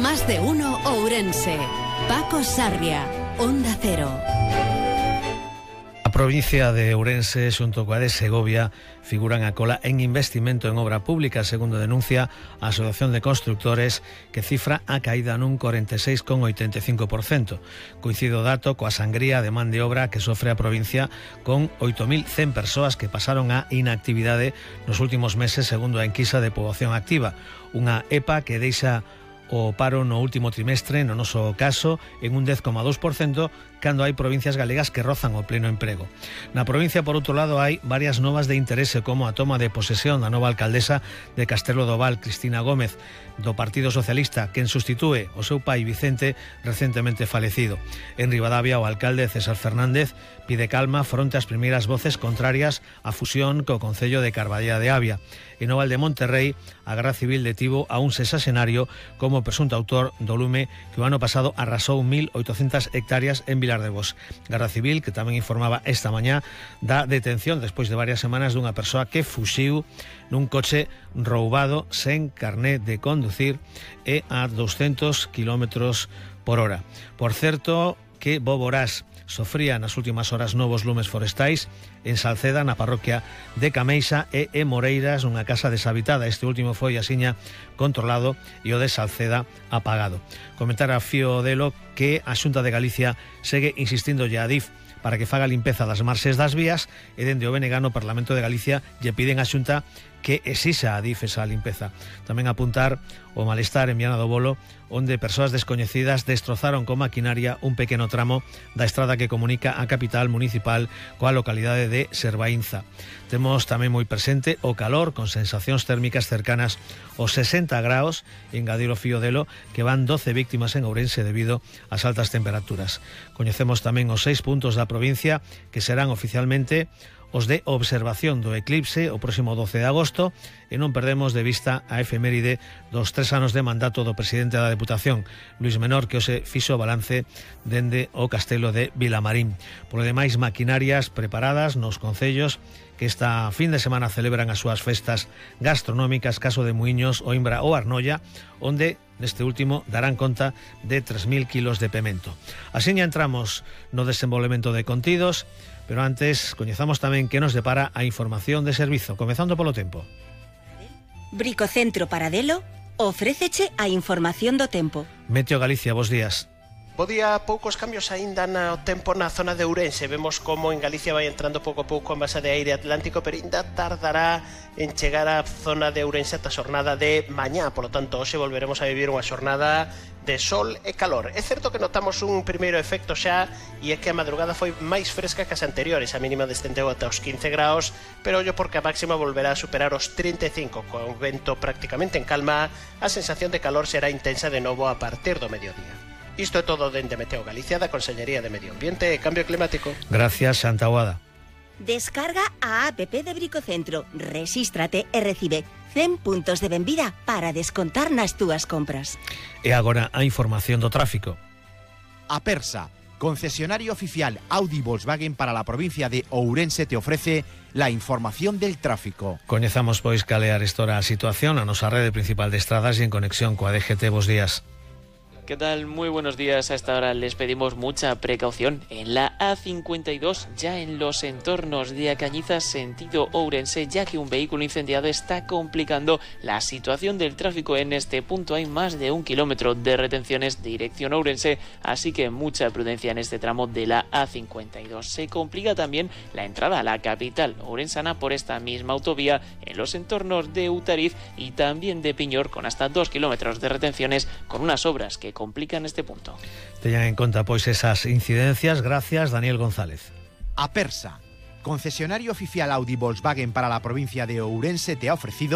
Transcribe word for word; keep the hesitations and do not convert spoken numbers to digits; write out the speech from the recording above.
Más de uno Ourense. Paco Sarria, Onda Cero. A provincia de Ourense xunto coa de Segovia figuran a cola en investimento en obra pública, segundo denuncia a Asociación de Constructores, que cifra a caída nun corenta e seis coma oitenta e cinco por cento. Coincide o dato coa sangría de man de obra que sofre a provincia, con oito mil cen persoas que pasaron a inactividade nos últimos meses, segundo a enquisa de poboación activa, unha E P A que deixa o paro no último trimestre, no noso caso, en un dez coma dous por cento, cando hai provincias galegas que rozan o pleno emprego. Na provincia, por outro lado, hai varias novas de interese, como a toma de posesión da nova alcaldesa de Castelo do Val, Cristina Gómez, do Partido Socialista, quen sustitúe o seu pai Vicente, recentemente falecido. En Ribadavia, o alcalde César Fernández pide calma fronte ás primeiras voces contrarias á fusión co concello de Carballeda de Avia. En o Val de Monterrey, a Garda Civil detivo a un sexagenario como presunto autor do lume que o ano pasado arrasou mil oitocentas hectáreas en Vilar de Bos. Garda Civil, que tamén informaba esta mañá da detención despois de varias semanas dunha persoa que fuxiu nun coche roubado sen carné de conducir e a doscientos kilómetros por hora. Por certo, que Bo Borás sofría nas últimas horas novos lumes forestais en Salceda, na parroquia de Cameixa, e en Moreiras, unha casa deshabitada. Este último foi asiña controlado e o de Salceda apagado. Comentar a Fío Delo que a Xunta de Galicia segue insistindo a Adif para que faga limpeza das marxes das vías, e dende o B N G no Parlamento de Galicia lle piden a Xunta que exixa a Adif esa limpeza. Tamén apuntar o malestar en Viana do Bolo, onde persoas descoñecidas destrozaron con maquinaria un pequeno tramo da estrada que comunica a capital municipal coa localidade de Servaínza. Temos tamén moi presente o calor, con sensacións térmicas cercanas aos sesenta graus, en Gadiro Fío Delo, que van doce víctimas en Ourense debido ás altas temperaturas. Coñecemos tamén os seis puntos da provincia que serán oficialmente os de observación do eclipse o próximo doce de agosto, e non perdemos de vista a efeméride dos tres anos de mandato do presidente da Deputación, Luís Menor, que hoxe fixo balance dende o castelo de Vilamarín. Por demais, maquinarias preparadas nos concellos que esta fin de semana celebran as súas festas gastronómicas, caso de Muiños, Oimbra ou Arnoia, onde neste último darán conta de tres mil kilos de pemento. Así ya entramos no desenvolvemento de contidos, pero antes coñezamos tamén que nos depara a información de servizo, comezando polo tempo. Bricocentro Paradelo ofréceche a información do tempo. Meteo Galicia, bos días. Bo día, poucos cambios aínda no tempo na zona de Ourense. Vemos como en Galicia vai entrando pouco a pouco a masa de aire atlántico, pero aínda tardará en chegar á zona de Ourense ata a xornada de mañá. Por lo tanto, hoxe volveremos a vivir unha xornada de sol e calor. É certo que notamos un primeiro efecto xa, e é que a madrugada foi máis fresca que as anteriores. A mínima descendeu ata os quince graus, pero ollo porque a máxima volverá a superar os trinta e cinco. Con o vento prácticamente en calma, a sensación de calor será intensa de novo a partir do mediodía. Isto é todo dende Meteo Galicia, da Consellería de Medio Ambiente e Cambio Climático. Gracias, Santa Aguada. Descarga a app de Bricocentro, rexístrate e recibe cen puntos de benvida para descontar nas túas compras. E agora a información do tráfico. Apersa, concesionario oficial Audi Volkswagen para la provincia de Ourense, te ofrece la información del tráfico. Coñezamos pois calear estora a situación a nosa rede principal de estradas e en conexión coa D G T. Bos días. ¿Qué tal? Muy buenos días. A esta hora les pedimos mucha precaución en la A cincuenta y dos, ya en los entornos de Acañiza, sentido Ourense, ya que un vehículo incendiado está complicando la situación del tráfico en este punto. Hay más de un kilómetro de retenciones dirección Ourense, así que mucha prudencia en este tramo de la A cincuenta y dos. Se complica también la entrada a la capital ourensana por esta misma autovía en los entornos de Utariz y también de Piñor, con hasta dos kilómetros de retenciones, con unas obras que complican este punto. Teñan en conta pois esas incidencias. Gracias, Daniel González. Apersa, concesionario oficial Audi Volkswagen para la provincia de Ourense, te ha ofrecido